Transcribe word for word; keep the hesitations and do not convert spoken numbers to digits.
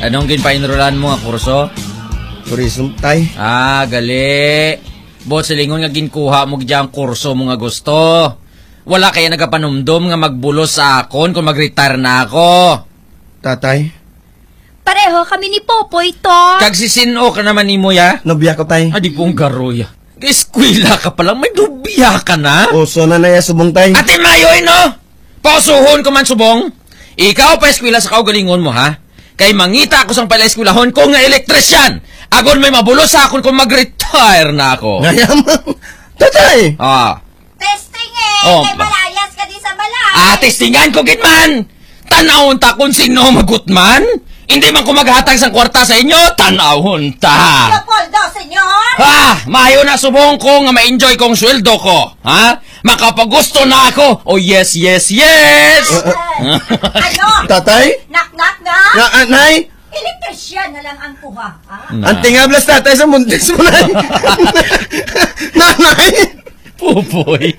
Anong ginpaenrolan mo nga kurso? Tourism, tay. Ah, gali. Buot silingon nga ginkuha mo gid ang kurso mo nga gusto. Wala kaya nagapanumdom nga magbulos sa akon kung mag-retire na ako. Tatay. Pareho kami ni Popoy, to. Kag si Sino ka naman nimo, ya? Nobya ko, tay. Ah, di pong garoy, ah. Eskwela ka pa lang, may nobya ka na? Uso na na ya subong, tay. Ate Mayoy, no? Pausuhon ko man subong. Ikaw pa eskwela sa kaugalingon mo, ha? Kay mangita ako sang pala eskwelahon ko nga electrician. Agon may mabulos sa akon kung mag-retire na ako. Ngaya man. Tatay! Ah. Testing eh! Oh, Kay ba- malayas ka di sa balay! Ah, testingan ko gid man! Tanawon ta kung sino magutman! Hindi man ko maghatag sang kwarta sa inyo, tanawon ta! Leopoldo, senyor! Ah! Maayo na subong ko nga ma-enjoy kong sweldo ko! Ha? Makapagusto na ako! Oh, yes, yes, yes! Ano? Tatay? Knock-knock na? Na, ah, nay? Elektrisyan na lang ang kuha, ha? Na. Ang tingablas, tatay, sa muntis mo, nay. Nanay! Pupoy!